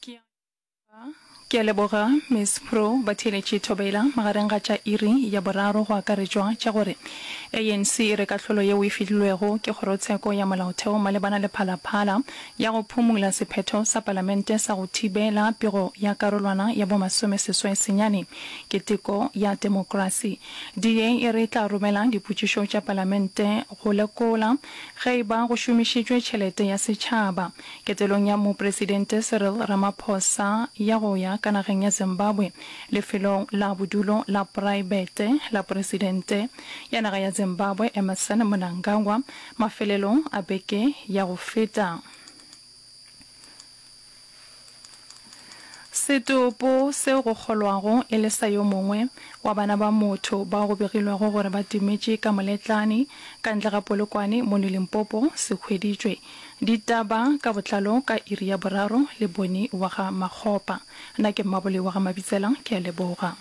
Ke Ke a leboga, Miss Pro. Batheeletši Thobela, magareng ga tša iri ya boraro go akaretšwa tša gore ANC e re kahlolo yeo e fihlilwego ke Kgorotsheko ya Molaotheo malebana le Phalaphala ya go phumula sephetho sa Palamente sa go thibela pego ya karolwana ya bomasomeseswai senyane ke teko ya temokrasi. DA e re e tla romela dipotšišo tša Palamente go lekola ge e ba go šomišitšwe tšhelete ya setšhaba Ketelong ya Mopresidente Cyril Ramaphosa ya go ya ka nageng ya Zimbabwe lefelong la bodulo la poraebete la Presidente ya naga ya Zimbabwe Emmerson Mnangagwa mafelelong a beke ya go feta. Setopo seo go kgolwago e le sa yo mongwe wa bana ba motho bao go begilwego gore ba timetše ka moletlane ka ntle ga Polokwane mono Limpopo se hweditšwe. Ditaba ka botlalo ka iri ya boraro le Boni wa ga Makgopa. Nna ke Mmaboloi wa ga Mabitsela, ke a leboga.